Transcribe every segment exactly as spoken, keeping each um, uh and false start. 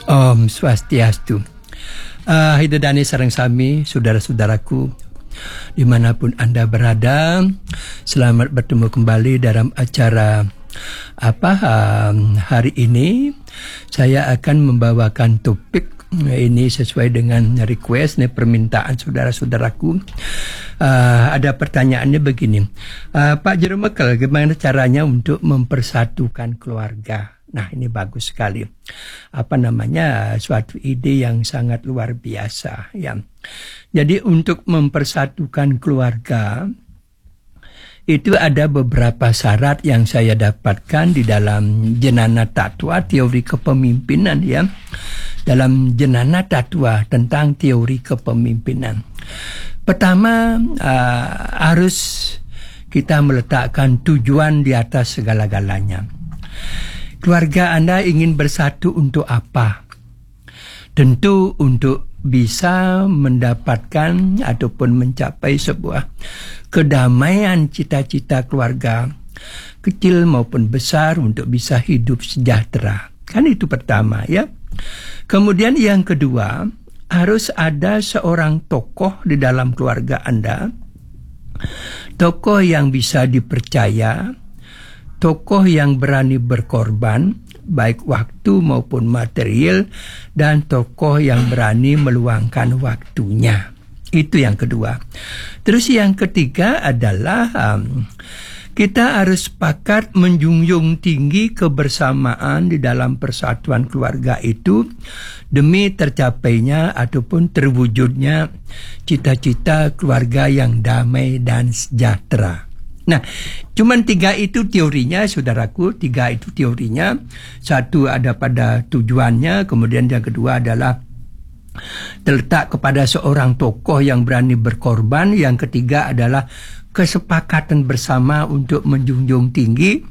Om Swastiastu. Uh, Ida Dani sareng sami, saudara-saudaraku, dimanapun Anda berada, selamat bertemu kembali dalam acara apa um, hari ini. Saya akan membawakan topik ini sesuai dengan request, nih, permintaan saudara-saudaraku. Uh, ada pertanyaannya begini, uh, Pak Jero Mekel, gimana caranya untuk mempersatukan keluarga? Nah, ini bagus sekali. Apa namanya, suatu ide yang sangat luar biasa, ya. Jadi, untuk mempersatukan keluarga, itu ada beberapa syarat yang saya dapatkan di dalam Jenana Tatwa, teori kepemimpinan, ya. Dalam Jenana Tatwa tentang teori kepemimpinan. Pertama, uh, harus kita meletakkan tujuan di atas segala-galanya. Keluarga Anda ingin bersatu untuk apa? Tentu untuk bisa mendapatkan ataupun mencapai sebuah kedamaian, cita-cita keluarga, kecil maupun besar, untuk bisa hidup sejahtera. Kan itu pertama, ya. Kemudian yang kedua, harus ada seorang tokoh di dalam keluarga Anda, tokoh yang bisa dipercaya, tokoh yang berani berkorban, baik waktu maupun material, dan tokoh yang berani meluangkan waktunya. Itu yang kedua. Terus, yang ketiga adalah, um, kita harus sepakat menjunjung tinggi kebersamaan di dalam persatuan keluarga itu demi tercapainya ataupun terwujudnya cita-cita keluarga yang damai dan sejahtera. Nah, cuman tiga itu teorinya, saudaraku. Tiga itu teorinya. Satu ada pada tujuannya, kemudian yang kedua adalah terletak kepada seorang tokoh yang berani berkorban, yang ketiga adalah kesepakatan bersama untuk menjunjung tinggi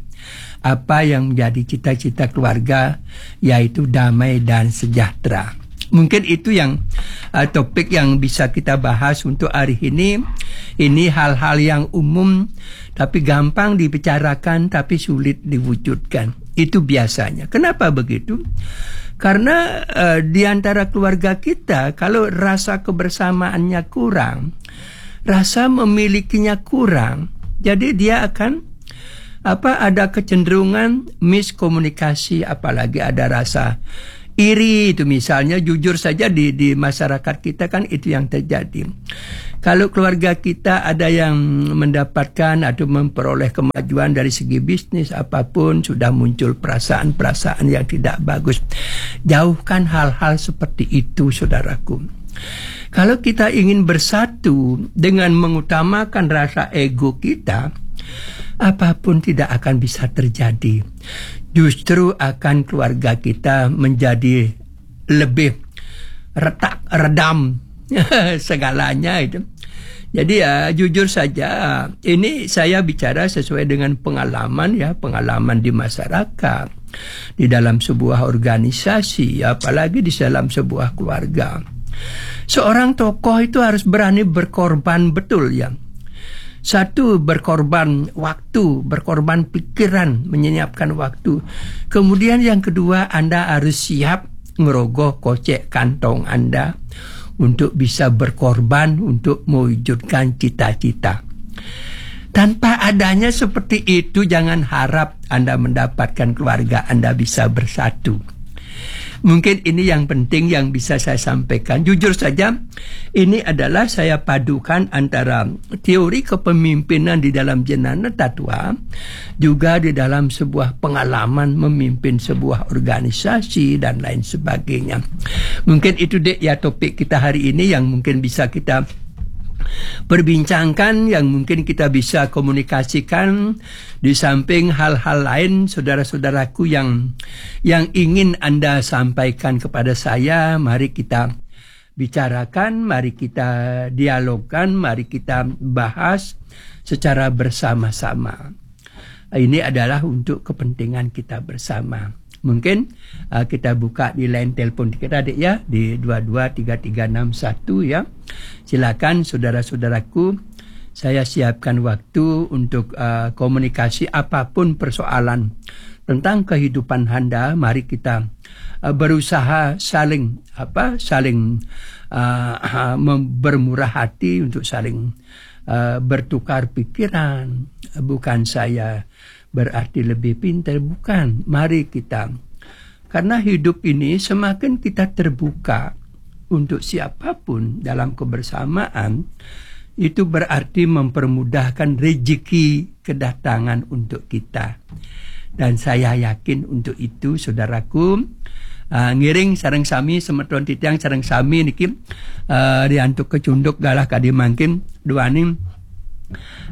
apa yang menjadi cita-cita keluarga, yaitu damai dan sejahtera. Mungkin itu yang, uh, topik yang bisa kita bahas untuk hari ini. Ini hal-hal yang umum, tapi gampang dibicarakan, tapi sulit diwujudkan. Itu biasanya. Kenapa begitu? Karena, uh, di antara keluarga kita, kalau rasa kebersamaannya kurang, rasa memilikinya kurang, jadi dia akan apa, ada kecenderungan miskomunikasi, apalagi ada rasa iri itu, misalnya. Jujur saja, di, di masyarakat kita kan itu yang terjadi. Kalau keluarga kita ada yang mendapatkan atau memperoleh kemajuan dari segi bisnis apapun, sudah muncul perasaan-perasaan yang tidak bagus. Jauhkan hal-hal seperti itu, saudaraku. Kalau kita ingin bersatu dengan mengutamakan rasa ego kita, apapun tidak akan bisa terjadi. Justru akan keluarga kita menjadi lebih retak, redam segalanya itu. Jadi, ya, jujur saja, ini saya bicara sesuai dengan pengalaman, ya, pengalaman di masyarakat, di dalam sebuah organisasi, apalagi di dalam sebuah keluarga. Seorang tokoh itu harus berani berkorban betul, ya. Satu, berkorban waktu, berkorban pikiran, menyiapkan waktu. Kemudian yang kedua, Anda harus siap ngerogoh kocek kantong Anda untuk bisa berkorban untuk mewujudkan cita-cita. Tanpa adanya seperti itu, jangan harap Anda mendapatkan keluarga Anda bisa bersatu. Mungkin ini yang penting yang bisa saya sampaikan. Jujur saja, ini adalah saya padukan antara teori kepemimpinan di dalam Jenana Tatwa, juga di dalam sebuah pengalaman memimpin sebuah organisasi dan lain sebagainya. Mungkin itu, Dek, ya, topik kita hari ini yang mungkin bisa kita perbincangkan, yang mungkin kita bisa komunikasikan. Di samping hal-hal lain, saudara-saudaraku, yang yang ingin Anda sampaikan kepada saya, mari kita bicarakan, mari kita dialogkan, mari kita bahas secara bersama-sama. Ini adalah untuk kepentingan kita bersama. Mungkin, uh, kita buka di line telepon kita, Dek, ya, di dua dua tiga tiga enam satu, ya. Silakan, saudara-saudaraku, saya siapkan waktu untuk, uh, komunikasi apapun persoalan tentang kehidupan Anda. Mari kita, eh, berusaha saling, apa, saling, eh, mem- bermurah hati, untuk saling, eh, bertukar pikiran. Bukan saya berarti lebih pintar, bukan. Mari kita, karena hidup ini semakin kita terbuka untuk siapapun dalam kebersamaan, itu berarti mempermudahkan rezeki kedatangan untuk kita. Dan saya yakin untuk itu, saudaraku, ah, ngiring sareng sami, semeton titiang sareng sami niki, ah, riantuk kecunduk galah kadi mangkin, duaning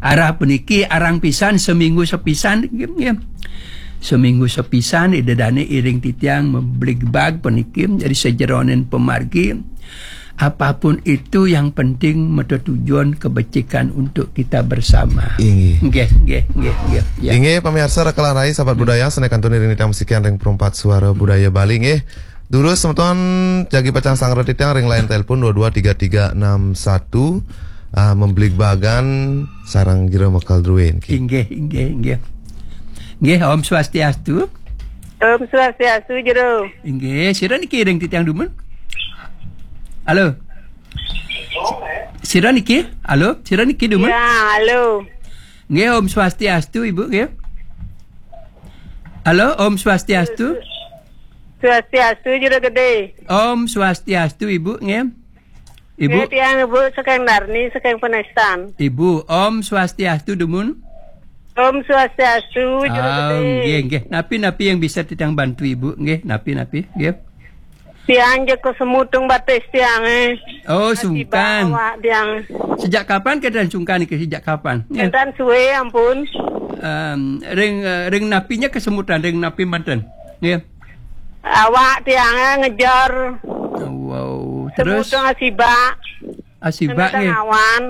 arah puniki arang pisan seminggu sepisan, nggih, nggih. Seminggu sepisan, Ida Dane iring titiang mebligbag puniki, jadi sajeroning pamargi. Apapun itu, yang penting mata tujuan kebajikan untuk kita bersama. Inggih. Nggih, nggih, nggih, nggih, ya. Inggih, pamiarsa, Raka lan Rai, sahabat budaya, sané kantun iring titiang masikian ring Perempat Suara Budaya Bali, nggih. Durus semeton jagi pacang sanggra titiang ring line telepon dua dua tiga tiga enam satu, ah, membligbagan sareng jero mekel druéné. Inggih, inggih, inggih. Nggih, Om Swastiastu. Om Swastiastu, Jero. Inggih, sira niki ring titiang dumun? Halo. Sira niki? Halo, sira niki dumun? Ya, halo. Nggih, Om Swastiastu, Ibu, nggih. Halo, Om Swastiastu. Swastiastu, Jero Gedé. Om Swastiastu, Ibu, nggih. Ibu. Nggih, tiang Ibu saking Darni, saking Penestan. Ibu, Om Swastiastu, dumun. Om Swastiastu, Jero Gedé. Nggih, nggih. Napi-napi yang bisa titiang bantu, Ibu? Nggih, napi-napi? Nggih. Tiang ja kesemut ring batis tiangé. Oh, sungkan. Awak tiang. Sejak kapan kénten sungkan niki? Sejak kapan? Nggih. Kénten suwé, ampun. Em, ring, eh, ring napinya kesemutan, ring napi manten? Nggih. Awak tiangé ngejar. Wow, terus? Semut ring asibak. Asibak, nggih. Awan.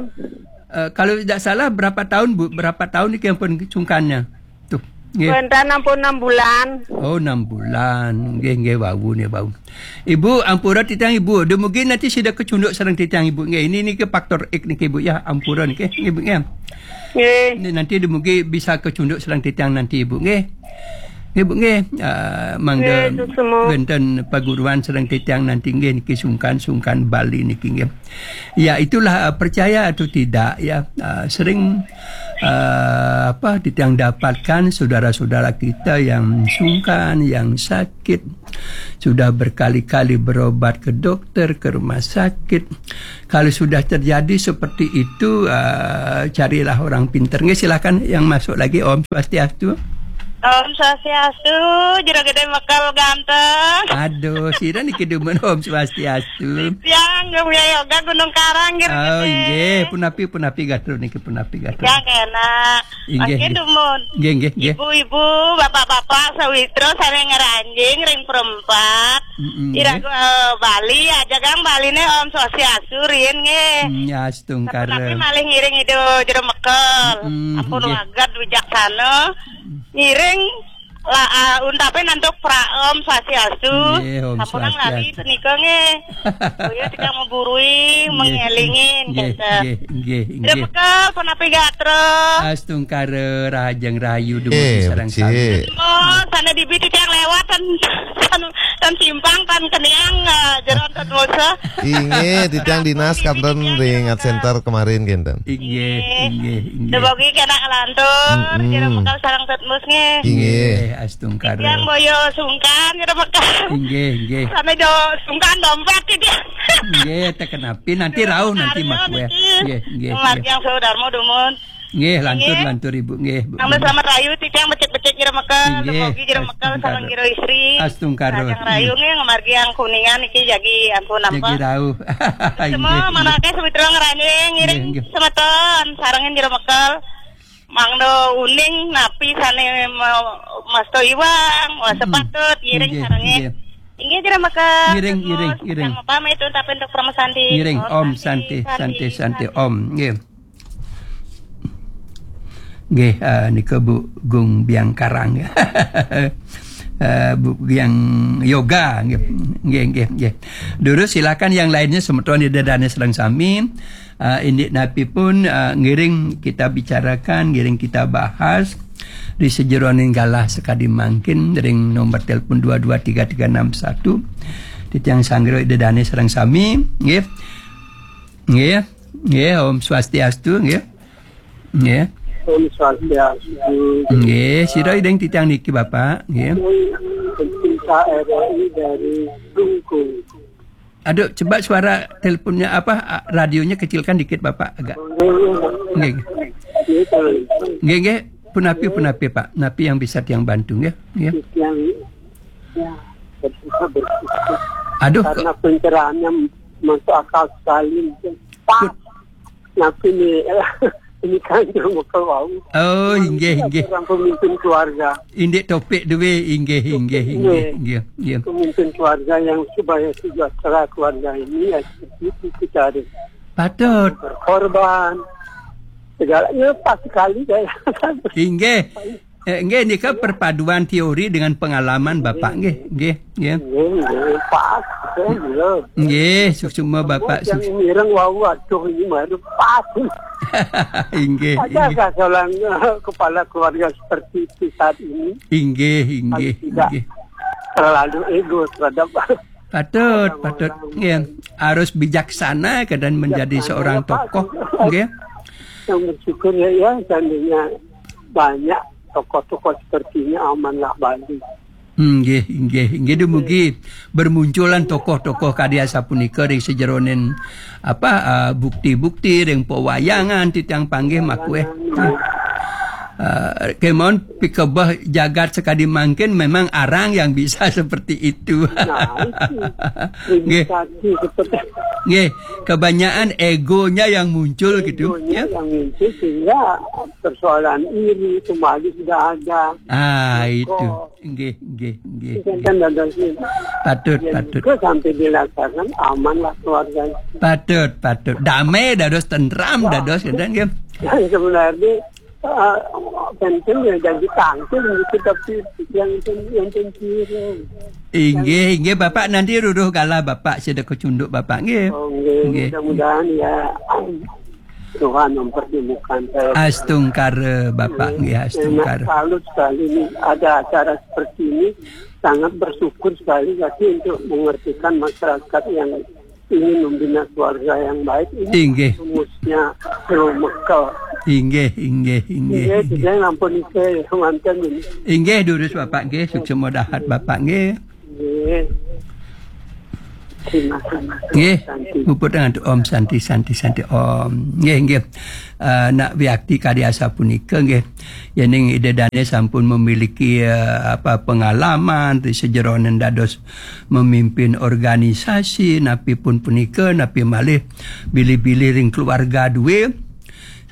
Eh, kalau tidak salah, berapa tahun, Bu? Berapa tahun niki ampun sungkannya? Tuh, nggih. Wénten ampun enam bulan. Oh, enam bulan. Nggih, nggih, wau nih, wau. Ibu, ampura titiang, Ibu. Dumugi nanti sida kecunduk sareng titiang, Ibu. Nggih, ini niki faktor X niki, Bu, ya. Ampura niki, Ibu, nggih. Nggih. Ini nanti dumugi bisa kecunduk sareng titiang nanti, Ibu, nggih. Nggih, Bu, nggih. Ah, mangda, nggih, suksma, wénten paguruan sareng titiang nanti, nggih, niki sungkan, sungkan Bali niki, nggih. Ya, itulah, eh, percaya atau tidak, ya, eh, sering, eh, apa, titiang dapatkan saudara-saudara kita yang sungkan, yang sakit, sudah berkali-kali berobat ke dokter, ke rumah sakit. Kalau sudah terjadi seperti itu, eh, carilah orang pinter. Nggih, silakan yang masuk lagi. Om Swastiastu. Om Swastiastu, Jero Gedé mekel ganteng. Aduh, sira niki dumun. Om Swastiastu. Tiang Buya Yoga Gunung Karang, Jero Gedé. Oh, inggih, punapi, punapi gatra niki, punapi gatra. Tiang enak. Inggih, mangkin inggih. Dumun. Inggih, inggih, inggih. Ibu-ibu, bapak-bapak, sawitra sané ngranjing ring Perempat. Mm-mm, ira, inggih. Eh, Bali, ajagang Baliné Om Swastiastu riin, nggih. Mm, ya, astungkara. Tapi malih ngiring Ida Jero Mekel. Mm-mm, ampun, nggih. Waget wijaksana. Ngiring la, ah, untapin antuk pra Om Swastiastu. Nggih, Om Swastiastu. Sampunang lali punika, nggih. Boya titiang maburui, nggih, mangélingin, nggih, kénten. Nggih, nggih, nggih. Jero Mekel, punapi gatra? Astungkara, rahajeng rahayu dumun, eh, sareng becik sami. Oh, sané dibi titiang lewat ten, ten, ten simpang, ten keniang, eh, jero ten dosa. Inggih, titiang dinas kanten ring Art Center kemarin, kénten. Inggih, inggih, inggih. Dumogi kena lantur, mm-mm, Jero Mekel sareng Tetmus, nggih. Inggih. Inggih, astungkara. Titiang boya sungkan, Jero Mekel. Inggih, inggih. Sané jo sungkan dompét titiang. Inggih, teken api, nanti rauh, nanti makué. Nggih, nggih, nggih. Margi Swadarma dumun. Nggih, lantur, nggih, lantur, Ibu, nggih, Bu. Selamat, selamat rahayu, titiang becik-becik Jero Mekel, inggih, dumogi Jero Mekel sareng astungkara. Jero istri. Astungkara. Sareng rahayu, nggih, ngamargiang Kuningan niki jagi ampun nampa. Jagi rauh. Semua, inggih, inggih. Manaké sawitra ngranjing, ngiring, inggih, inggih, semeton, sarengin Jero Mekel. Mangda uning napi sané ma-, masta iwang, wah, mm-mm, sepatut, ngiring, inggih, sarengin. Inggih. Inggih, Jero Mekel. Ngiring, terus, ngiring, ngiring. Jangan lupa itu tapi untuk promo santi. Ngiring, Om, Om Santi, Santi, Santi, Santi, Santi, Santi. Om, nggih. Nggih, eh, nika Bu Gung Biang Karang. Eh, Bu Biang Yoga, nggih. Nggih, nggih, nggih. Durus, silakan yang lainnya, semeton Ida Dané sareng sami. Eh, indik napi pun, eh, ngiring kita bicarakan, ngiring kita bahas. Di sejeroning galah sakadi mangkin ring nomor telepon dua dua tiga tiga enam satu. Titiang sanggra Ida Dane sareng sami, nggih. Nggih. Nggih, Om Swastiastu, nggih. Nggih. Om Swastiastu. Nggih, sira ida ing titiang niki, Bapak, nggih. Cinta R R I dari Klungkung. Aduh, coba suara teleponnya apa, a, radionya kecilkan dikit, Bapak, agak. Nggih. Nggih, nggih. Punapi, punapi, Pak. Napi yang bisa tiang bantu, nggih? Nggih. Yang, ya, bersyukur, bersyukur. Aduh, karena pencerahannya masuk akal sekali. Pas. Napi nih, ini kan cuma keluar. Oh, inggih, inggih. Orang pemimpin keluarga. Indik topik duwe, inggih, inggih, inggih, inggih, inggih. Pemimpin keluarga yang supaya sejahtera keluarga ini, ya, seperti itu kita harus Patut. Berkorban. Segalanya pas sekali saya. Inggih. Eh, nggih, nika perpaduan teori dengan pengalaman Bapak, nggih, nggih, nggih. Nggih, nggih, pas. Saya belum. Nggih, suksma Bapak, yang sukses. Mireng wau, aduh, ini baru pas. Inggih, ada inggih. Ada seorang, eh, kepala keluarga seperti itu saat ini? Inggih, inggih, tidak, inggih. Terlalu ego terhadap Patut, orang-orang patut. Nggih. Harus bijaksana ke dan menjadi bijaksana, seorang tokoh. Nggih. Yang bersyukur ya, ya, seandainya banyak tokoh-tokoh seperti ini, amanlah Bali. Hmm, nggih, nggih, nggih, dumugi bermunculan tokoh-tokoh kadi asapunika ring sejeroning apa, ah, bukti-bukti ring pewayangan titiang panggih makueh. Ah, kemon pikebeh jagat sakadi mangkin memang arang yang bisa seperti itu. Nah, itu. Nggih. Seperti nggih, kebanyakan egonya yang muncul gitu, egonya ya. Yang muncul sehingga persoalan iri, kembali sudah ada. Ah, itu. Nggih, nggih, nggih. Itu kan dadosnya. Patut, patut. Juga sampai dilaksanakan amanlah keluarga. Patut, patut. Damai dados, tentram dados, gitu, nggih. Yang sebenarnya, eh, penting ya jadi tangkil gitu, tapi yang pen-, yang penting. Inggih, inggih, Bapak, nanti ruruh galah Bapak sida kecunduk Bapak, nggih. Oh, nggih. Nggih. Mudah-mudahan ya, Tuhan mempertemukan saya. Astungkara, Bapak, nggih, astungkara. Salut sekali ini, ada acara seperti ini, sangat bersyukur sekali lagi untuk mengertikan masyarakat yang ingin membina keluarga yang baik ini. Inggih. Rumusnya Guru Mekel. Inggih, inggih, inggih, inggih. Inggih, saya ampun, saya mantan ini. Inggih, durus Bapak, nggih, suksma dahat Bapak, nggih. Nggih. Terima kasih. Nggih, Santi. Puput dengan Om Santi, Santi, Santi, Om. Nggih, nggih. Eh, nak wiakti kadi asapunika, nggih. Yening Ida Dane sampun memiliki, eh, apa, pengalaman di sejeroning dados memimpin organisasi, napi pun punika, napi malih bilih-bilih ring keluarga duwe,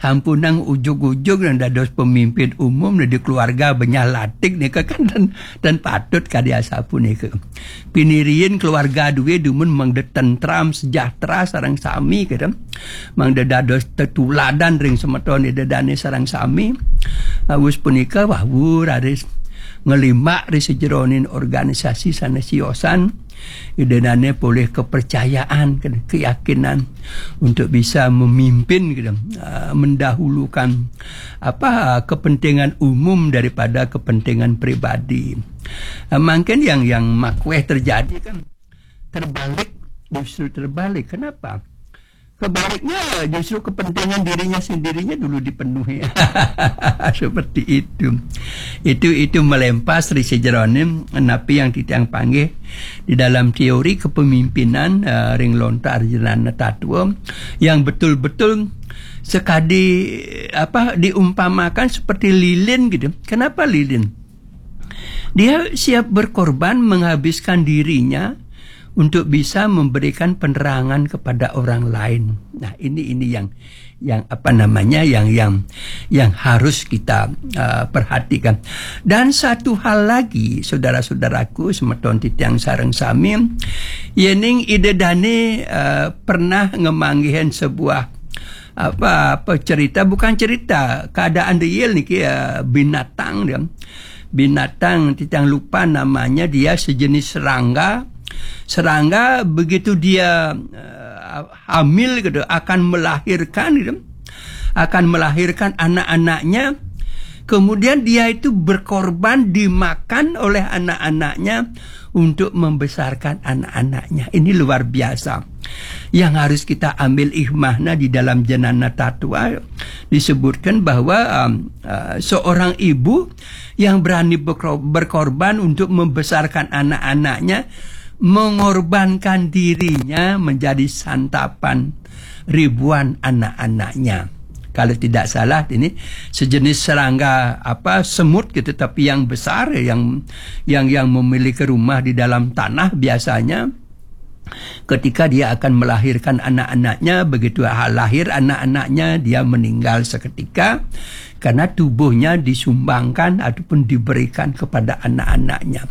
sampunang ujug-ujug nang dados pemimpin umum di keluarga benyah latik nika kan ten, ten patut kadi asapunika. Piniriin keluarga duwe dumun mangda tentram, sejahtera sareng sami, gitu. Mangda dados tetuladan ring semeton Ida Dane sareng sami. Awis punika wau raris ngelimbak ri sejeroning organisasi sane siosan, Ida Dane polih kepercayaan, keyakinan untuk bisa memimpin, gitu, ah, mendahulukan apa, kepentingan umum daripada kepentingan pribadi. Ah, mungkin yang, yang makweh terjadi kan terbalik, justru terbalik. Kenapa? Kebaliknya, justru kepentingan dirinya sendirinya dulu dipenuhi. Seperti itu. Itu, itu melempas ri sejeroning napi yang titiang panggih di dalam teori kepemimpinan, eh, ring lontar jenana tatwa yang betul-betul sekadi, apa, diumpamakan seperti lilin gitu. Kenapa lilin? Dia siap berkorban, menghabiskan dirinya untuk bisa memberikan penerangan kepada orang lain. Nah, ini, ini yang, yang apa namanya, yang, yang, yang harus kita, uh, perhatikan. Dan satu hal lagi, saudara-saudaraku, semeton titiang sareng sami, yening Ida Dane, uh, pernah ngemanggihin sebuah apa, apa cerita, bukan cerita, keadaan real niki, ya, binatang dia. Binatang, titiang lupa namanya, dia sejenis serangga. Serangga begitu dia, eh, hamil gitu, akan melahirkan gitu. Akan melahirkan anak-anaknya, Kemudian dia itu berkorban, dimakan oleh anak-anaknya untuk membesarkan anak-anaknya. Ini luar biasa. Yang harus kita ambil hikmahnya, di dalam Janana Tatwa disebutkan bahwa um, uh, seorang ibu yang berani berkor- berkorban untuk membesarkan anak-anaknya, mengorbankan dirinya menjadi santapan ribuan anak-anaknya. Kalau tidak salah, ini sejenis serangga apa, semut gitu, tapi yang besar, yang yang yang memiliki rumah di dalam tanah biasanya. Ketika dia akan melahirkan anak-anaknya, begitu lahir anak-anaknya, dia meninggal seketika karena tubuhnya disumbangkan ataupun diberikan kepada anak-anaknya.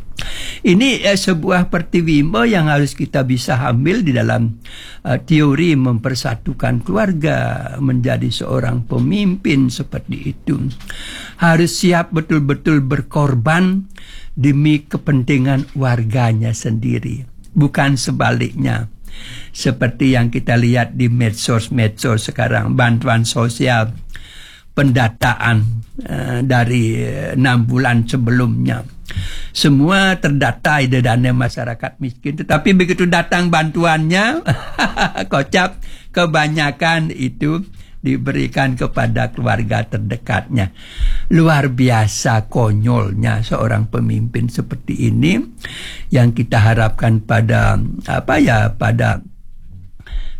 Ini eh, sebuah pertiwimbo yang harus kita bisa ambil di dalam eh, teori mempersatukan keluarga, menjadi seorang pemimpin seperti itu. Harus siap betul-betul berkorban demi kepentingan warganya sendiri. Bukan sebaliknya. Seperti yang kita lihat di medsos-medsos sekarang, bantuan sosial, pendataan eh, dari eh, enam bulan sebelumnya. Semua terdata di dana masyarakat miskin. Tetapi begitu datang bantuannya, kocap, kebanyakan itu diberikan kepada keluarga terdekatnya. Luar biasa konyolnya seorang pemimpin seperti ini, yang kita harapkan pada apa ya, pada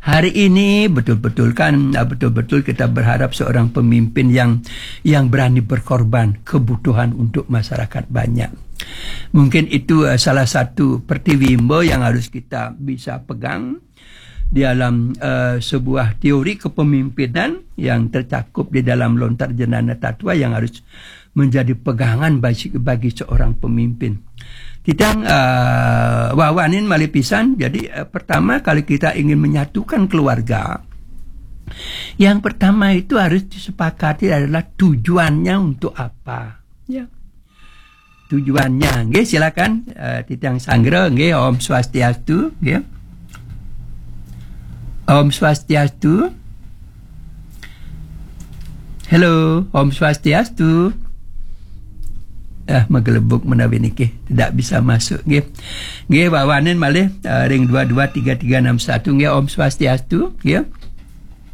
hari ini betul-betul kan, betul-betul kita berharap seorang pemimpin yang yang berani berkorban kebutuhan untuk masyarakat banyak. Mungkin itu uh, salah satu pertiwimbo yang harus kita bisa pegang di dalam uh, sebuah teori kepemimpinan yang tercakup di dalam Lontar Jenana Tatwa, yang harus menjadi pegangan bagi, bagi seorang pemimpin. Kita uh, wawanin malipisan. Jadi uh, pertama, kalau kita ingin menyatukan keluarga, yang pertama itu harus disepakati adalah tujuannya untuk apa. Ya. Tujuannya, nggih, silakan uh, titiang sanggra, nggih. Om Swastiastu, nggih. Om Swastiastu. Halo, Om Swastiastu. Ah, magelebuk menawi niki tidak bisa masuk, nggih. Nggih, wawanin malih uh, ring dua dua tiga tiga enam satu, nggih. Om Swastiastu, nggih.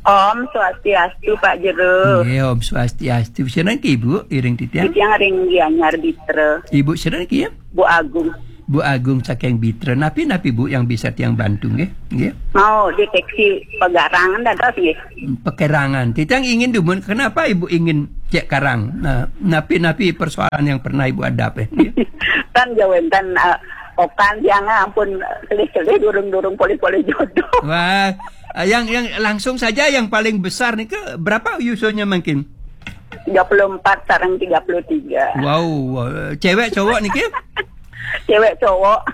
Om Swastiastu, Pak Jero. Nggih, Om Swastiastu. Sinten niki, Ibu? Iring titiang. Titiang ring Gianyar Bitra. Ibu sinten niki, ya? Bu Agung. Bu Agung saking Bitra. Napi, napi, Bu, yang bisa tiang bantu, nggih? Nggih. Mau deteksi pegarangan dados, nggih. Pekerangan. Titiang ingin dumun, kenapa Ibu ingin cek karang? Nah, napi, napi persoalan yang pernah Ibu hadapi, nggih? Kan jawenten uh, okan tiang ampun kelih-kelih durung-durung polih-polih jodoh. Wah, uh, yang yang langsung saja yang paling besar nih, ke berapa usianya mungkin? Tiga puluh empat sareng tiga puluh tiga. Wow, uh, cewek cowok niki? Cewek cowok.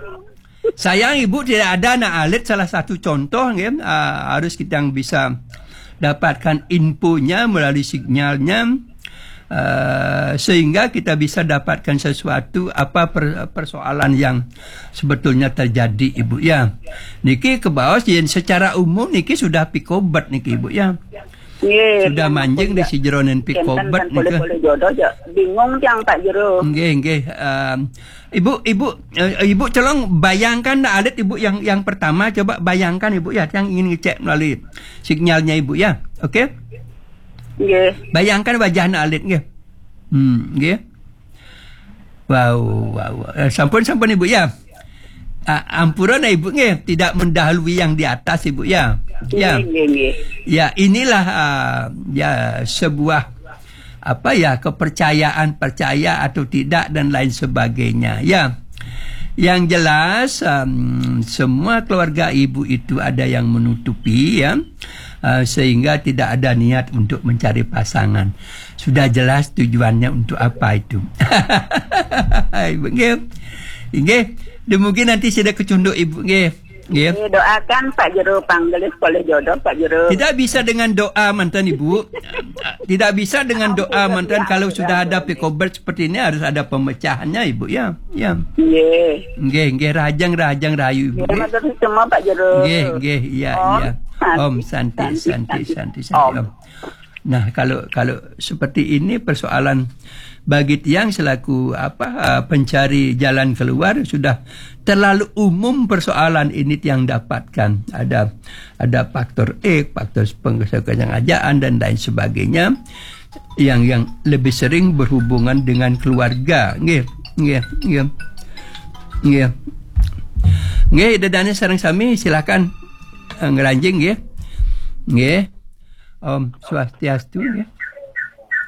Sayang Ibu tidak ada anak alit, salah satu contoh, nggih, uh, harus kita yang bisa dapatkan infonya melalui sinyalnya, uh, sehingga kita bisa dapatkan sesuatu apa per, persoalan yang sebetulnya terjadi, Ibu, ya. Niki kebaos yen secara umum niki sudah pikobet niki, Ibu, ya. Nggih, sudah manjing di sijeroning pikobet nika. Boleh-boleh jodoh aja. Bingung tiang, Pak Jero. Nggih, nggih. Um, Ibu, Ibu, uh, Ibu tolong bayangkan alit Ibu yang yang pertama, coba bayangkan Ibu, ya, yang ingin ngecek melalui sinyalnya Ibu, ya. Oke? Nggih. Bayangkan wajahnya alit, nggih. Hmm, nggih. Wow, wow, wow. Eh, sampun, sampun Ibu, ya. Ah, ampura nah Ibu, nggih, tidak mendahului yang di atas Ibu, ya. Ya. Nggih, nggih, nggih. Ya, inilah uh, ya sebuah apa ya, kepercayaan, percaya atau tidak dan lain sebagainya, ya. Yang jelas um, semua keluarga Ibu itu ada yang menutupi, ya, uh, sehingga tidak ada niat untuk mencari pasangan. Sudah jelas tujuannya untuk apa itu. Ibu, nggih. Nggih. Demikian nanti sudah kecunduk Ibu, nggih. Nggih. Nggih, doakan Pak Jero panggelis polih jodoh, Pak Jero. Tidak bisa dengan doa mantan Ibu. Tidak bisa dengan doa mantan, kalau sudah ada pikobet seperti ini harus ada pemecahannya Ibu, ya. Ya. Nggih. Nggih, nggih, rahajeng, rahajeng rahayu Ibu, nggih. Matur semua Pak Jero. Nggih, nggih, iya, iya. Om Santi, Santi, Santi, Santi. Om. Nah, kalau kalau seperti ini persoalan bagi tiang selaku apa, eh, pencari jalan keluar, sudah terlalu umum persoalan ini tiang dapatkan. Ada ada faktor X, faktor pengkesengajaan dan lain sebagainya yang yang lebih sering berhubungan dengan keluarga. Nggih, nggih, nggih. Nggih. Nggih, Ida Dane sareng sami, silakan, eh, ngranjing nggih. Nggih. Om Swastiastu nggih.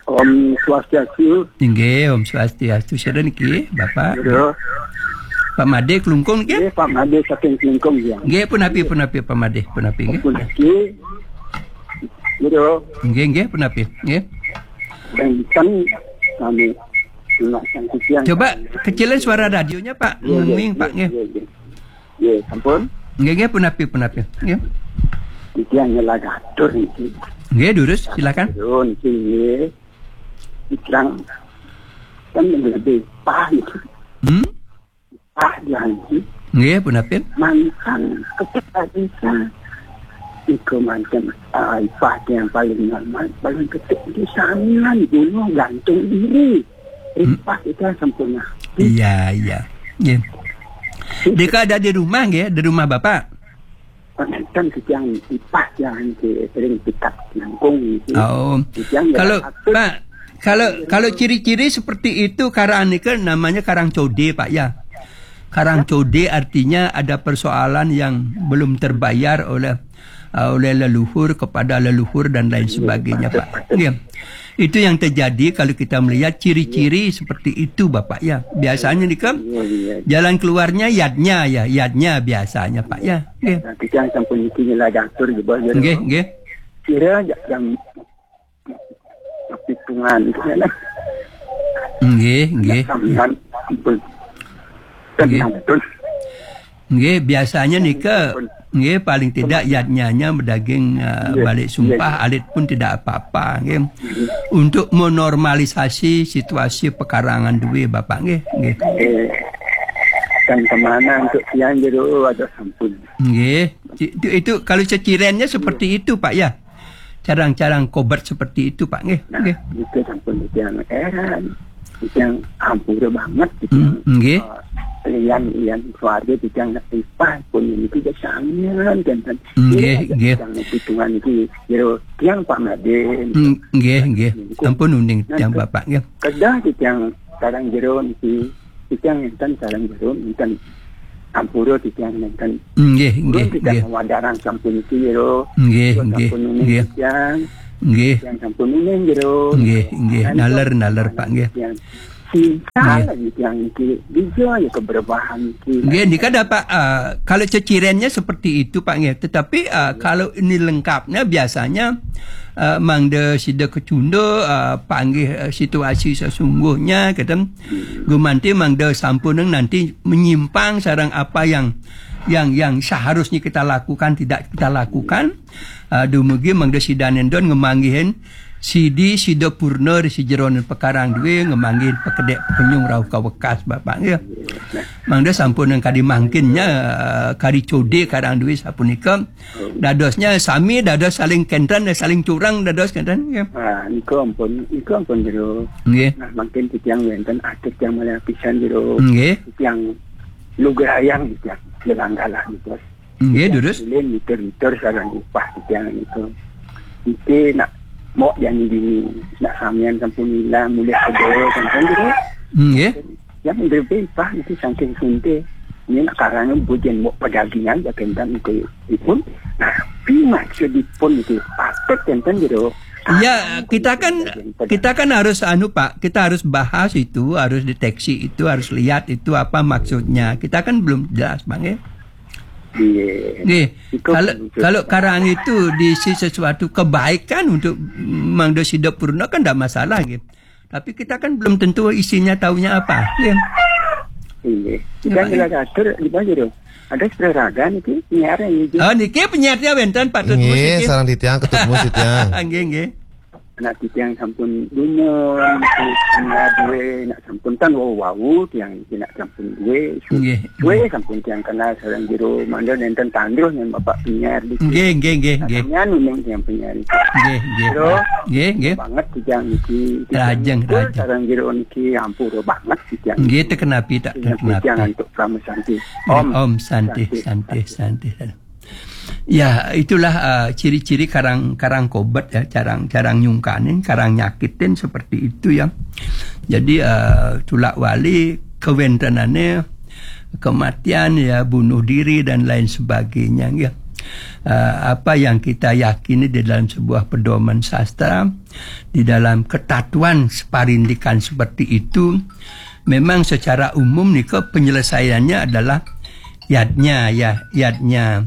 Om Swastiastu. Nggih, Om Swastiastu. Sira niki, Bapak? Pak Made Klungkung nggih? Nggih, Pak Made saking Klungkung ya. Nggih, punapi, punapi, Pak Made, punapi nggih? Puniki. Nggih, nggih, punapi? Nggih. Dan kan kami Coba kecilin suara radionya, Pak. Nggih, nggih, Pak, nggih. Nggih, sampun. Nggih, nggih, punapi, punapi. Nggih. Iki hanya lagi atur iki. Nggih, durus, silakan. Turun iki nggih. Ikang kan lebih pah gitu. Hmm? Pah janji. Nggih, punapi? Mantan ketika bisa. Iku mantan, ah, ipah yang paling normal, paling kecil itu samian bunuh gantung diri. Ripah itu sempurna. Iya, iya. Nggih. Deka ada di rumah nggih, di rumah Bapak? Kan kita yang ipah yang sering kita nangkung gitu. Oh. Yang kalau Pak, kalau kalau ciri-ciri seperti itu karang nika namanya karang code, Pak, ya. Karang code artinya ada persoalan yang belum terbayar oleh, uh, oleh leluhur kepada leluhur dan lain sebagainya, Pak. Iya. Itu yang terjadi kalau kita melihat ciri-ciri seperti itu, Bapak, ya. Biasanya nika, iya, iya, jalan keluarnya yadnya, ya, yadnya biasanya, Pak, ya. Nggih. Nah, kita yang sampun niki nyela diatur di bawah, ya. Nggih, nggih. Kira jam hitungan gitu ya. Nggih, nggih. Sampeyan ampun. Nggih. Tenang betul. Nggih, biasanya nika, nggih, paling tidak yadnyanya bedaging, eh, nggih, balik sumpah, nggih, alit pun tidak apa-apa, nggih. Nggih. Untuk menormalisasi situasi pekarangan duwe, Bapak, nggih, nggih. Eh, dan kemana untuk siang jero ada sampun. Nggih, itu, itu kalau cecirennya seperti itu, Pak, ya. Carang-carang kobat seperti itu, Pak, nggih. Nah, nggih. Itu sampun yang heran. Yang hampura banget gitu. Hmm, nggih. Eh, lian, lian keluarga gitu yang ipah pun ini tidak samian kan. Nggih, nggih. Yang hitungan itu jero tiang Pak Madin. Hmm, nggih, nggih. Ampun uning tiang Bapak, nggih. Kedah gitu yang sekarang jero niki. Titiang enten sareng jero enten ampura titiang enten. Nggih, nggih, nggih. Titiang mawadarang sampun iki jero. Nggih, nggih, sampun uning nggih. Titiang. Nggih. Titiang sampun uning jero. Nggih, nggih. Naler, naler, Pak, nggih. Titiang. Cinta lagi tiang iki. Bija ya keberbahan iki. Nggih, nika ada, Pak, eh, kalau cecirennya seperti itu, Pak, nggih. Tetapi, eh, kalau ini lengkapnya biasanya, eh, mangda sida kecunda, eh, panggih, eh, situasi sesungguhnya, keten. Gumanti mangda sampuneng nanti menyimpang sareng apa yang, yang, yang seharusnya kita lakukan, tidak kita lakukan. Ah, dumugi mangda sidaning don ngemanggihin sidi sida purna ri sajeroning pekarang duwe ngemanggihin pekedek penyung rauh kawekas Bapak nggih. Mangda sampuneng kadi mangkinnya, ah, kari code karang duwe sapunika. Dadosnya sami dados saling kenten, saling curang dados kenten, nggih. Ah, niku ampun, niku ampun jero. Nggih. Nah, mangkin titiang wenten atur tiang malih pisan jero. Nggih. Tiang lugrayang tiang jelanggalah niku. Nggih, durus. Ulin mitur-mitur sareng upah titiang niku. Niki nak mok jani dini, nak samian sampun ilang, mulih sedaya sampun jero. Nggih. Yang lebih pah itu saking sunte. Ini nak karangnya bujen mau pedagingan bagian itu ipun. Nah, pi maksudipun itu patut enten gitu. Ya, kita kan, kita kan harus anu, Pak, kita harus bahas itu, harus deteksi itu, harus lihat itu apa maksudnya. Kita kan belum jelas, Bang, ya. Iya. Nggih, kalau, kalau karang itu diisi sesuatu kebaikan untuk mangda sida purna kan ndak masalah, nggih. Tapi kita kan belum tentu isinya taunya apa. Ya. Iya. Kita jelas atur di bawah itu. Ada saudara niki penyiar yang izin. Oh, niki penyiarnya wenten patut musik. Nggih, sareng titiang ketut musik tiang. Nggih, nggih. Anak titiang sampun dumun, niki kena duwe, nak sampun tan wau-wau tiang niki nak sampun duwe. Su-, Nggih, suwe nggih. Sampun tiang kenal sareng jero mangda nenten tandus nang Bapak penyiar niki. Nggih, nggih, nggih, nggih. Katanya nuning tiang penyiar niki. Nggih, nggih. Jero Nggih, nggih. Banget titiang niki. Titiang Rajeng, ngumpul rajeng. Sareng jero niki ampura banget titiang. Nggih, teken api tak, teken api. Titiang antuk Parama Santi. Nggih, Om. Om Santi, Santi, Santi, Santi. Santi. Ya, itulah, uh, ciri-ciri karang, karang kobet ya, carang, carang nyungkanin, karang nyakitin seperti itu ya. Jadi, uh, tulak wali kewentenannya kematian ya, bunuh diri dan lain sebagainya ya. Uh, apa yang kita yakini di dalam sebuah pedoman sastra, di dalam ketatuan separindikan seperti itu, memang secara umum nika penyelesaiannya adalah yadnya ya, yadnya.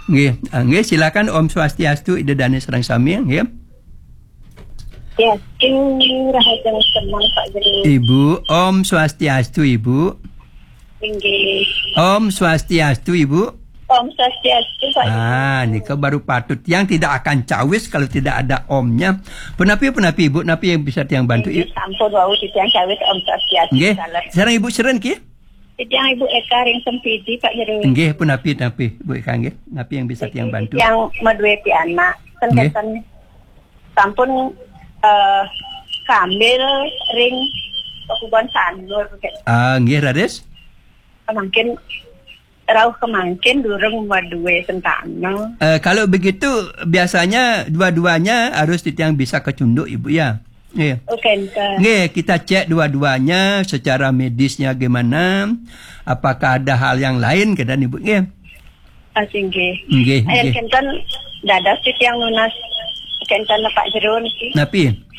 Nggih, ah, nggih, silakan. Om Swastiastu, Ida Dane sareng sami, nggih. Ya, ing rahajeng semeng Pak Jero. Ibu, Om Swastiastu, Ibu. Inggih. Om Swastiastu, Ibu. Om Swastiastu, Pak Jero. Ah, nika baru patut. Yang tidak akan cawis kalau tidak ada omnya. Punapi, punapi, Ibu, napi yang bisa tiang bantu, Inggih, Ibu? Sampun wau titiang cawis Om Swastiastu. Nggih. Salam. Sareng Ibu Seren ki? Titiang Ibu Eka ring Sempidi, Pak Jero. Nggih, punapi, napi, Bu Eka, nggih. Napi yang bisa tiang bantu? Titiang maduwe pianak. Nggih. Ten sampun, eh, kambil ring Pakubon Sanur, gitu. Ah, nggih, raris. Mangkin rauh kemangkin durung maduwe sentana. Eh, kalau begitu, biasanya dua-duanya harus titiang bisa kecunduk, Ibu, ya. Nggih. Oh, kenten. Nggih, kita cek dua-duanya secara medisnya gimana, apakah ada hal yang lain, kenten, Ibu, nggih. Ah, singgih. Nggih, eh, nggih. Kenten dados titiang nunas kenten Pak Jero niki. Napi?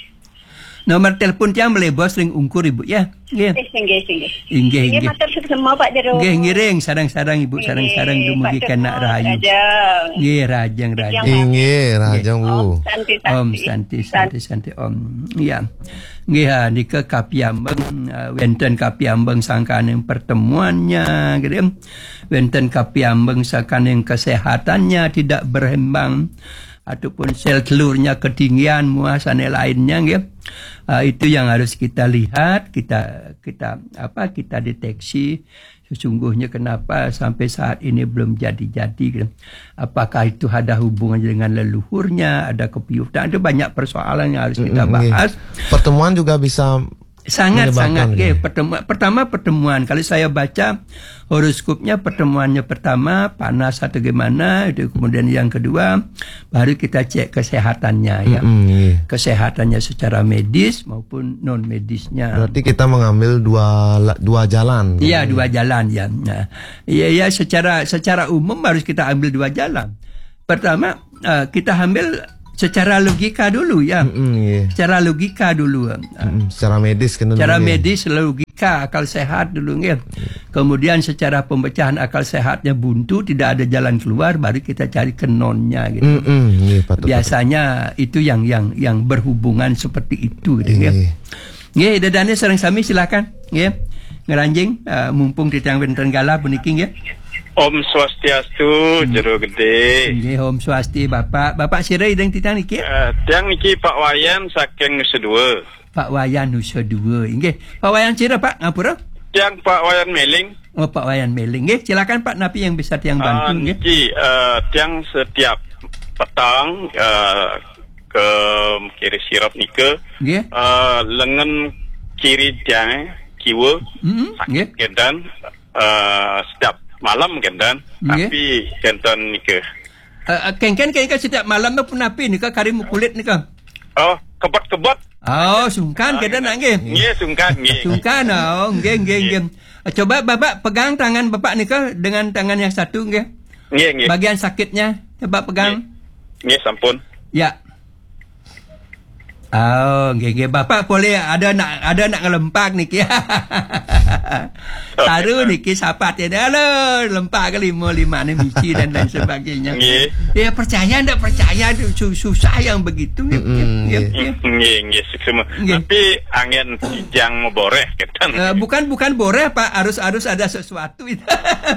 Nomor telepon tiang malih bos ring ungkur, Ibu, ya. Nggih. Eh, singgih, singgih. Inggih, inggih. Matur suksma, Pak Jero. Nggih, ngiring sareng-sareng, Ibu, sareng-sareng dumugi kenak rahayu. Nggih, rahajeng, rahajeng. Inggih, rahajeng, Bu. Om Santi, Santi, Santi, Om. Ya. Nggih, ha, nika kapiambeng, eh, wenten kapiambeng sangkaning pertemuannya, gitu. Wenten kapiambeng sangkaning kesehatannya tidak berimbang, ataupun sel telurnya ketinggian, muah sane lainnya, nggih. Ah, itu yang harus kita lihat, kita, kita, apa, kita deteksi sesungguhnya kenapa sampai saat ini belum jadi-jadi, gitu. Apakah itu ada hubungannya dengan leluhurnya, ada kepiutan, itu banyak persoalan yang harus kita bahas. Mm, nggih. Pertemuan juga bisa Sangat, menyebabkan, sangat, nggih, gitu. Pertemu-, pertama pertemuan. Kalau saya baca horoskopnya, pertemuannya pertama panas atau gimana, itu kemudian yang kedua baru kita cek kesehatannya, ya. Mm-mm, iya. Kesehatannya secara medis maupun non medisnya. Berarti kita mengambil dua la-, dua jalan, iya, kan? Dua jalan, ya. Nah, iya, iya, secara, secara umum harus kita ambil dua jalan. Pertama, eh, kita ambil secara logika dulu, ya. Mm-mm, iya. Secara logika dulu. Mm-mm, secara medis, kan, secara dulu, ya. Medis, logika, akal sehat dulu, nggih. Kemudian secara pemecahan akal sehatnya buntu, tidak ada jalan keluar, baru kita cari ke nonnya, gitu. Mm-mm, nggih, patut, patut. Biasanya itu yang, yang, yang berhubungan seperti itu, gitu, nggih. Nggih. Nggih, Ida Dane sareng sami, silakan, nggih. Ngranjing, eh, mumpung titiang wenten galah puniki, nggih. Om Swastiastu, hmm. Jero Gede. Nggih, Om Swasti, Bapak. Bapak sira ideng titiang niki? Eh, tiang niki Pak Wayan saking Nusa Dua. Pak Wayan Nusa Dua. Inggih. Pak Wayan sira, Pak? Ngapura? Tiang Pak Wayan Meling. Oh, Pak Wayan Meling. Nggih, silakan, Pak, napi yang bisa tiang bantu, ah, nggih? Niki, eh, tiang setiap petang, eh, ke kiri sirep nika, nggih. Eh, lengen kiri tiang kiwa, mm-mm, sakit, nggih. Kenten, eh, setiap malam kenten, nggih. Tapi kenten nika. Eh, eh, kengken, kengken setiap malam tu punapi nika, kari mukulit nika? Oh, kebet-kebet. Oh, sungkan, ah, kenten, nggih. Nggih, sungkan, nggih. Sungkan, oh, nggih, nggih, nggih. Nggih. Eh, coba Bapak pegang tangan Bapak nika dengan tangan yang satu, nggih. Nggih, nggih. Bagian sakitnya, coba pegang. Nggih. Nggih, sampun. Ya. Oh, nggih, nggih. Bapak boleh ada nak, ada nak ngelempak niki. Taruh niki sapat ya. Halo, lempak ke lima, lima ni mici dan lain sebagainya. Nggih. Ya, percaya ndak percaya tu su-, susah yang begitu. Mm-mm, nggih, nggih. Nggih, nggih, suksma. Nggih. Tapi angin kijang boreh, kenten. Eh, bukan, bukan boreh, Pak. Harus, harus ada sesuatu itu.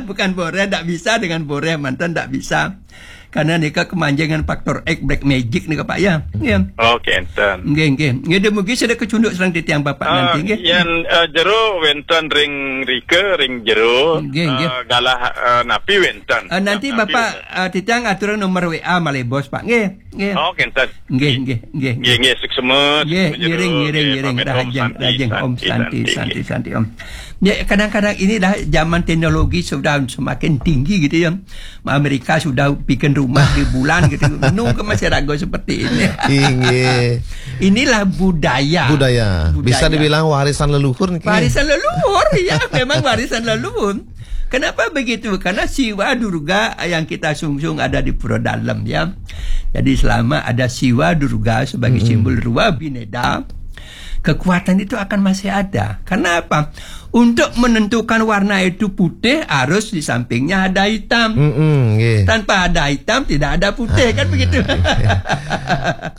Bukan boreh, ndak bisa dengan boreh, mantan ndak bisa. Karena nika kemanjengan faktor X, black magic nika, Pak, ya. Ya. Oh, kenten. Nggih, nggih. Nggih, dumugi sida kecunduk sareng titiang Bapak nanti, nggih. Yen, eh, jero wenten ring rike, ring jero, nggih, nggih, eh, galah, eh, napi wenten. Eh, nanti galah napi Bapak, wenten. Eh, titiang aturang nomor W A malih bos, Pak. Nggih, nggih. Oh, kenten. Nggih, nggih, nggih, nggih, nggih. Nggih, suksema, nggih, suksema jero, ngiring, ngiring, nggih, ngiring. Pamit, Om, rahajeng, santi, rahajeng, Om, santi, santi, santi, santi, santi, Om. Ya, kadang-kadang inilah zaman teknologi sudah semakin tinggi gitu ya. Amerika sudah bikin rumah di bulan gitu. Nunggu masih ragu seperti ini. Inggih. Inilah budaya. Budaya. Bisa dibilang warisan leluhur niki. Warisan leluhur, ya, memang warisan leluhur. Kenapa begitu? Karena Siwa Durga yang kita sungsung ada di Pura Dalem, ya. Jadi selama ada Siwa Durga sebagai simbol Rua Bineda, kekuatan itu akan masih ada. Karena apa? Untuk menentukan warna itu putih, harus di sampingnya ada hitam. Mm-mm, nggih. Tanpa ada hitam, tidak ada putih, kan begitu?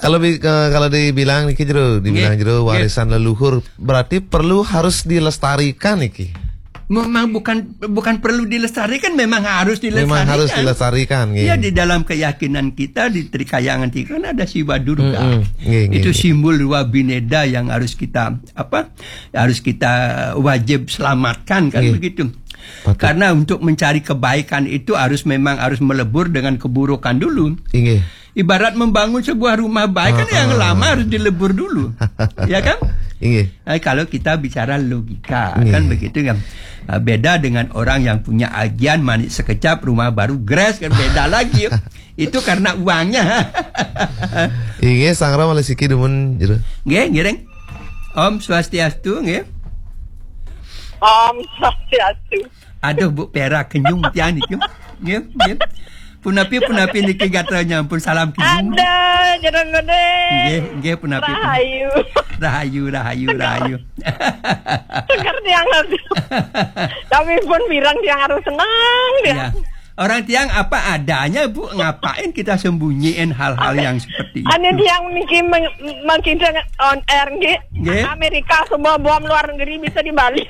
Kalau bi-, eh, kalau dibilang niki jero, dibilang jero warisan leluhur, berarti perlu harus dilestarikan niki. Memang bukan, bukan perlu dilestarikan, memang harus dilestarikan. Memang harus dilestarikan, nggih. Ya, di dalam keyakinan kita di Trikayangan Tiga kan ada Siwa Durga. Mm-mm, nggih, nggih, nggih. Itu simbol Rua Bineda yang harus kita, apa, harus kita wajib selamatkan, kan begitu. Betul. Karena untuk mencari kebaikan itu harus, memang harus melebur dengan keburukan dulu. Inggih. Ibarat membangun sebuah rumah baik kan yang lama harus dilebur dulu. Ya kan? Inggih. Eh, kalau kita bicara logika, kan begitu kan. Eh, beda dengan orang yang punya ajian manik sekecap, rumah baru gres, kan beda lagi. Itu karena uangnya. Inggih, sangra malih siki dumun jero. Nggih, ngiring. Om Swastiastu, nggih. Om Swastiastu. Aduh, Bu Pera, kenyung tiang niki. Nggih, nggih. Punapi, punapi niki gatra nyampun salam kenyung. Ada, jero gedé. Nggih, nggih, punapi, punapi. Rahayu. Rahayu, rahayu, rahayu. Seger tiang, aduh. Tapi pun pirang tiang harus senang, tiang. Iya. Orang tiang apa adanya, Bu. Ngapain kita sembunyiin hal-hal yang seperti itu? Ane tiang niki meng-, mengkidang on air, nggih. Nggih. Amerika semua bom luar negeri bisa di Bali.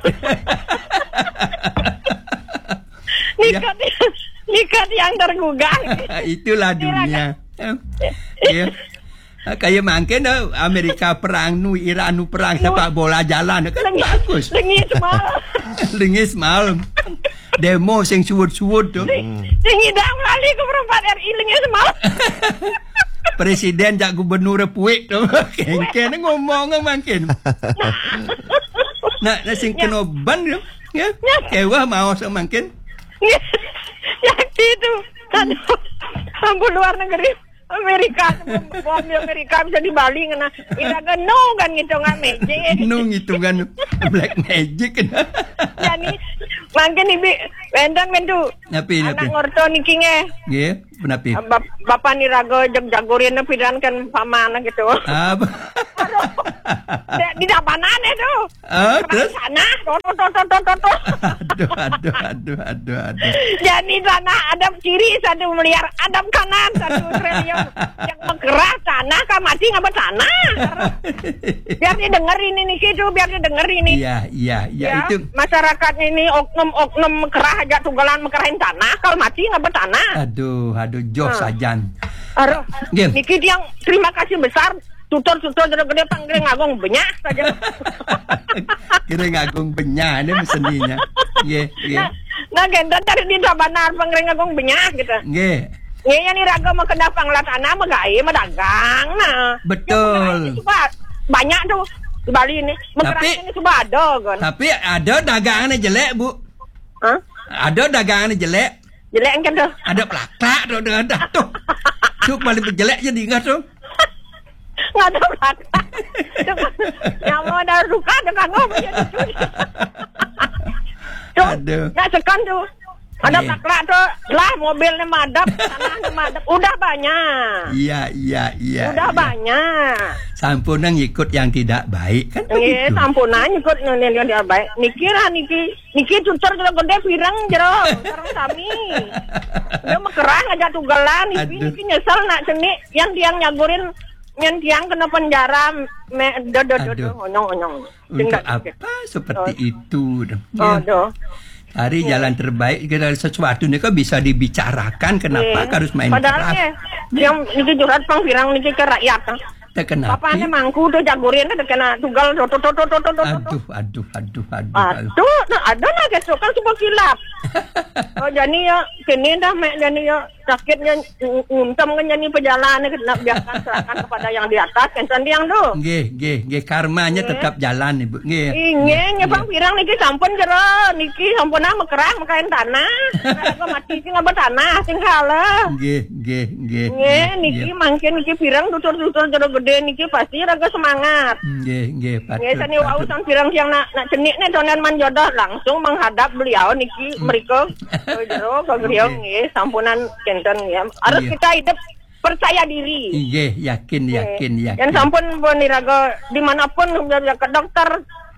Iya. Nika tiang, nika tiang tergugah. Itulah dunia. Iya. Ah, kaya mangkin, eh, Amerika perang nu, Iran nu perang, sepak bola jalan, kan bagus. Lengis mal. Lengis mal. Demo sing suwud-suwud tu. Sing, sing idang lali ke perempat R I lengis mal. Presiden jak gubernur puik tu. Kengken ngomong mangkin. Nah, nah, sing kena ban tu. Ya. Kewah mau mangkin. Ya, itu. Aduh. Ampun, luar negeri. Amerika, bom di Amerika bisa di Bali ngena. Iraga nu kan ngitungan magic. Nu ngitungan black magic. Jani, mangkin ibi, wénten, wénten. Napi, napi? Anak ngorta niki nggih. Nggih, napi? Bap-, bapak niraga jeg jagurin pidan kan paman gitu. Ah, ba- Aduh. Di, di dapanan itu. Ah, terus? Tanah, to, to, to. Aduh, aduh, aduh, aduh, aduh. Jadi tanah ada kiri satu miliar, ada kanan satu triliun. Yang menggerak tanah, kan mati ngapa tanah? Biar didengar ini nih, gitu, biar didengar ini. Iya, iya, iya, ya, itu. Masyarakat ini oknum-oknum mekerah aja tunggalan mekerahin tanah, kalau mati ngapa tanah? Aduh, aduh, joh sajan. Aduh, nggih. Niki yang terima kasih besar. Tutur-tutur gedé-gedé panggiring agung benyah saja. Giring agung benyah, ini seninya. Nggih, nggih. Nah, nah, genten tadi di Tabanan panggiring agung benyah gitu. Nggih. Nggih, yang iraga mau kena panglatana, megai, medagang, nah. Betul. Yang megai itu suka banyak tuh di Bali ini. Tapi, mekerahnya ini suka ada, kan. Tapi ada dagangannya jelek, Bu. Hah? Ada dagangannya jelek. Jelek kan tuh. Ada pelaklak tuh, ada, ada tuh. Tuh paling jelek jadi ingat tuh. Nggak ada pelaklak. Tuh, nyawa ada suka tuh kan, oh, punya cucu. Tuh, aduh. Nggak sekan tuh. Ada pelaklak tuh, lah mobilnya madep, tanahnya madep. Udah banyak. Iya, iya, iya. Udah banyak. Sampunang ikut yang tidak baik kan begitu. Iya, sampunang ikut yang, yang tidak baik. Niki lah, niki. Niki tutur jero gedé pirang jero, sareng sami. Dia mekerah aja tugelan, niki, aduh, niki nyesel nak seni, yang tiang nyagurin, yang tiang kena penjara, me, do, do, do, do, aduh, onyong, onyong. Untuk apa seperti itu? Oh, ya. Aduh. Ari jalan terbaik, kita sesuatu ni kan bisa dibicarakan, kenapa harus main keras? Padahal ni, yang niki curhat pang pirang niki ke rakyat. Teu kenapa? Bapaknya mangku tuh jagurin tuh kena tugal tuh tuh tuh tuh tuh tuh tuh. Aduh, aduh, aduh, aduh, aduh. Aduh, nah, ada lah gitu kan cuma kilap. Oh, jadi ya, kini dah mek jadi ya sakitnya ng- nguntem kan jadi pejalan kena biarkan serahkan kepada yang di atas kan sandiang tuh. Nggih, nggih, nggih, karmanya tetap jalan, Ibu. Nggih. Inggih, nggih, nggih. Pang pirang niki sampun jero niki sampun ah mekerah mekain tanah. Aku mati sing apa tanah sing kalah. Nggih, nggih, nggih. Nggih, niki mangkin niki pirang tutur-tutur jero gede niki pasti raga semangat. Nggih, nggih, patut. Nggih, sani wau patut. Sang pirang siang nak nak cenik nih donen manjodoh langsung menghadap beliau niki mereka ke jero ke beliau nggih sampunan kenten ya. Harus kita hidup percaya diri. Nggih, yakin, yakin, yakin. Yang sampun pun iraga dimanapun ke dokter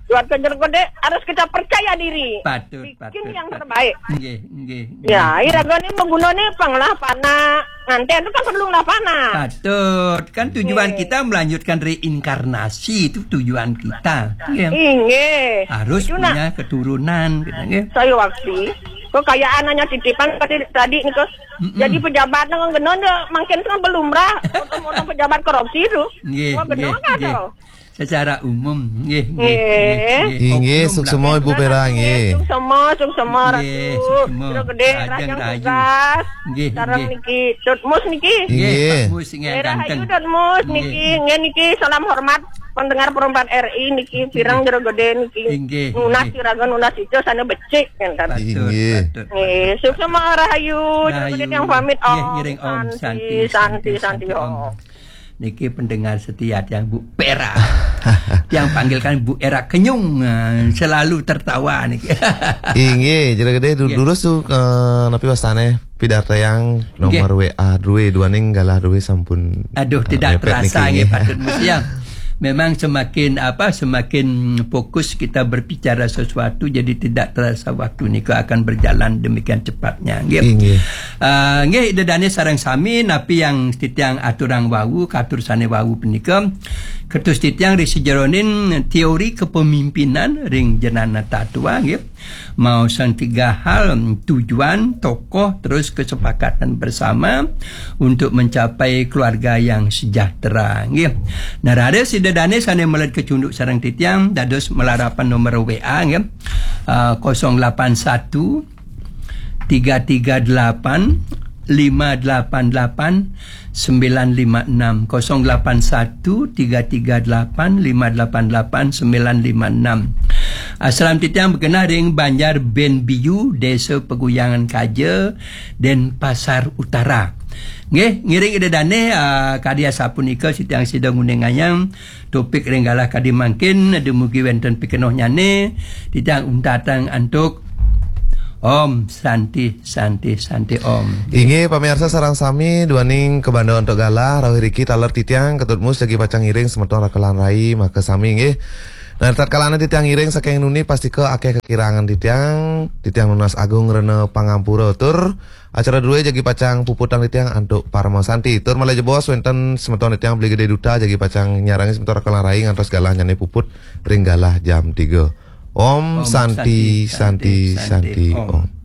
buat ke jero gede harus kita percaya diri. Patut, patut. Bikin yang terbaik. Nggih, nggih. Ya, iraga ni maguna ni pang lah panah. Nganten tu kan perlu lah panah. Patut. Kan tujuan kita melanjutkan reinkarnasi itu tujuan kita. Nggih. Inggih. Harus punya keturunan gitu nggih. Saya waktu kekayaan hanya titipan tadi tadi ni ke. Jadi pejabat nang genon dia makin tu belum lah. Orang pejabat korupsi tu. Nggih, nggih, nggih. Secara umum, nggih, nggih, nggih. Inggih, suksema Ibu Pera, nggih. Suksema, suksema, Ratu. Nggih, suksema. Jero gede, rajang tugas. Nggih, sareng niki, Tut Mus niki. Nggih, Pak Mus, nggih, ganteng. Rahayu, Tut Mus niki, nggih niki, salam hormat, pendengar perempat R I niki, pirang jero gede niki. Inggih, nunas siraga, nunas ijo, sana becik, ngenten. Patut, patut. Nggih, suksema, rahayu, jero gede yang pamit, Om. Nggih, ngiring Om, santi, santi, santi, Om. Niki pendengar setia tiang Bu Pera. Tiang panggilkan Bu Era Kenyung, eh, selalu tertawa niki. Inggih, jero gede du- durus tu, eh, napi wastane pidartayang nomor W A dua dua ning galah dua sampun. Aduh, eh, tidak mepet terasa niki, nggih, patut musia. Memang semakin apa, semakin fokus kita berbicara sesuatu, jadi tidak terasa waktu nika akan berjalan demikian cepatnya, nggih. Inggih. Ah, nggih, Ida Dane sareng sami napi yang titiang aturang wau, katur sane wau punika kertus titiang ri sejeroning teori kepemimpinan ring jenana tatua, nggih. Mau sang tiga hal, tujuan, tokoh, terus kesepakatan bersama untuk mencapai keluarga yang sejahtera, nggih. Nah, raris Ida Dane sane meled kecunduk sareng titiang, dados malarapan nomor W A, nggih. Ah, kosong delapan satu, tiga tiga delapan, lima delapan delapan, sembilan lima enam, kosong delapan satu, tiga tiga delapan, lima delapan delapan, sembilan lima enam. Asram titiang bekenah ring Banjar Ben Biu, Desa Peguyangan Kaja, Denpasar Utara. Nggih, ngiring Ida Dane, ah, kadi asapunika titiang sida nguningayang topik ring galah kadi mangkin, dumugi wenten pikenohnyane, titiang untatang antuk Om Santi, Santi, Santi Om. Inggih, pamirsa sareng sami, duaning kabanda antuk galah, rauh iriki taler titiang, Ketut Mus jagi pacang ngiring semeton rakelan rai, maka sami nggih. Nah, tatkalane titiang ngiring saking nuni pastika akeh kakirangan titiang, titiang nunas agung rena pangampura tur acara druwe jagi pacang puputang titiang antuk Parama Santi. Tur malih jebos wenten semeton titiang Beli Gede Duta jagi pacang nyarangi semeton rakelan rai ngantos galahnyane puput ring galah jam tiga. Om Santi, Santi, Santi, Om.